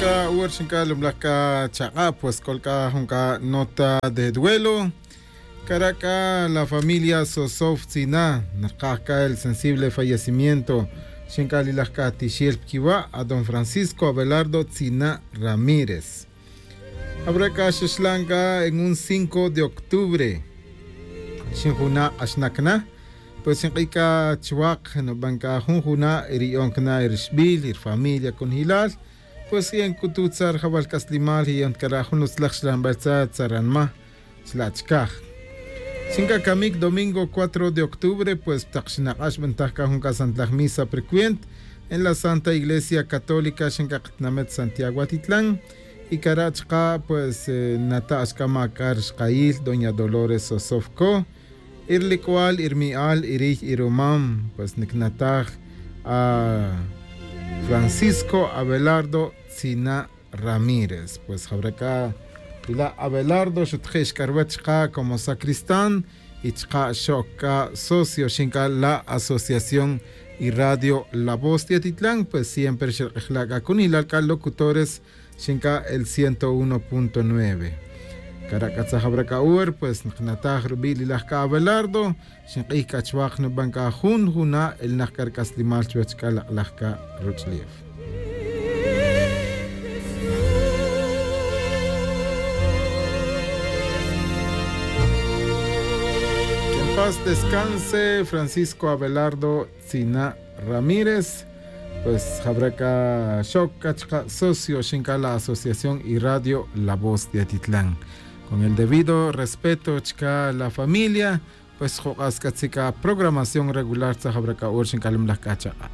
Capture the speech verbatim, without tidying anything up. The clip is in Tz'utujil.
Ca uwer xinc'a' lumlaj c'a chak'a' pues c'ol c'a jun c'a nota de duelo. Cara' c'a la familia sosof tzina narkaj c'a el sensible fallecimiento xinc'a' lilaj c'a tixel piquiwa' a don francisco abelardo tzina ramírez. Abra c'a xaxlan c'a en un cinco de octubre. Xinjuna' k'axnac na pues xink'iy c'a chuwak nuban c'a jun juna' y riyon cana' y rixbil y rifamilia cunjilal. Pues yen c'utu tzar jawal c'aslimal y yen cara' jun utzlaj xlanbel tza tzaranma. Chla' chicaj xin c'a camic domingo cuatro de octubre pues tak xinak'ax b'antaj c'a jun c'a santlaj misa precuent en la santa iglesia católica xin c'a katinamet santiago atitlan. Y cara' chaka' pues nata' xc'a ma' c'a rixkayil doña dolores sosofco. Y rilic'ual y rimi'al y riy y rumam pues nicnataj a francisco abelardo tzina' ramírez pues jawra c'a ila' abelardo xuteje' xc'a ruwech chaka' como sacristán. Y chaka' xoc c'a socio xin c'a la asociación y radio la voz tiatitlan pues siempre xerk'ejla' c'a cunilal c'a locutores. Xin c'a el ciento uno punto nueve. Cara' c'a tzaj jawra c'a uwer pues nakataj rubi' lilaj c'a abelardo. Xink'ij c'a chuwak nuban c'a jun juna' elnak c'a ric'aslimal chuwech c'a lak'laj c'a ruch'lef. Quien paz descanse francisco abelardo tzina' ramírez. Pues jawra c'a xoc c'a chaka' socio xin c'a la asociación y radio la voz de atitlan. Con el debido respeto chaka' la familia. Pues juk'a' sc'atzi c'a programación regular tzaj jawra c'a ur xin c'a lumlaj c'a chaka'.